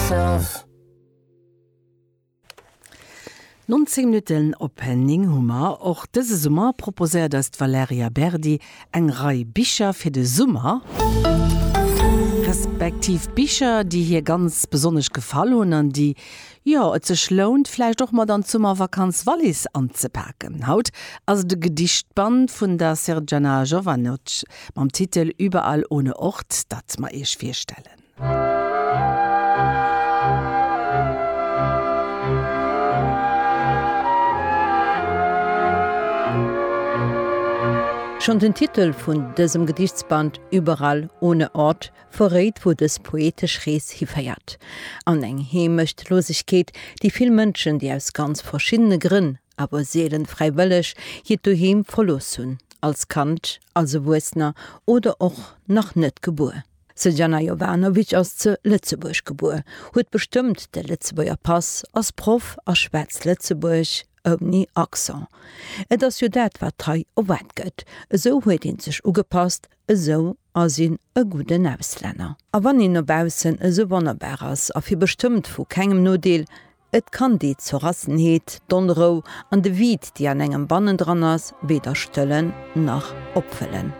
myself. 19 Minutten op 9 hu mer. Och dëse Summer proposéiert eis d'Valerija Berdi eng Rei Bicher fir de Summer, respektiv Bicher, déi hir ganz besonnesch gefall hunn an déi, jo, et sech lount, vläicht och mat an d'Summervakanz-Wallis anzepaken. Haut ass et e Gedichtband vun der Srdjana Jovanovic mam Titel Überall ohne Ort, dat mer iech virstellen. Schonn den Titel vun dësem Gedichtsband Überall ohne Ort verréit, wou dës poetesch Rees hiféiert, an eng Heemechtlosegkeet, déi vill Mënschen, déi aus ganz verschiddene Grënn, awer seelen fräiwëlleg, hiert Doheem verlooss hunn, als Kand, als Erwuessener oder och nach net gebuer. D'Srđana Jovanović ass ze Lëtzebuerg gebuer, huet bestëmmt de Lëtzebuerger Pass, ass Proff a schwätzt Lëtzebuerg ouni Accent. Et ass jo dat, wat hei erwaart gëtt. Esou huet een sech ugepasst, esou ass een e gudden Auslänner. A wann een no baussen esou wonnerbar ass a fir bestëmmt vu kengem Nodeel, et kann déi Zerrassenheet, d'Onrou an de Vide, déi an engem bannendran ass, weder stëllen nach opfëllen.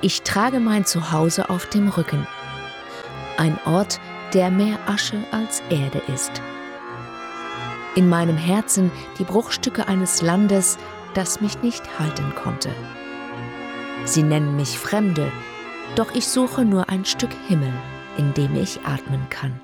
Ich trage mein Zuhause auf dem Rücken. Ein Ort, der mehr Asche als Erde ist. In meinem Herzen die Bruchstücke eines Landes, das mich nicht halten konnte. Sie nennen mich Fremde, doch ich suche nur ein Stück Himmel, in dem ich atmen kann.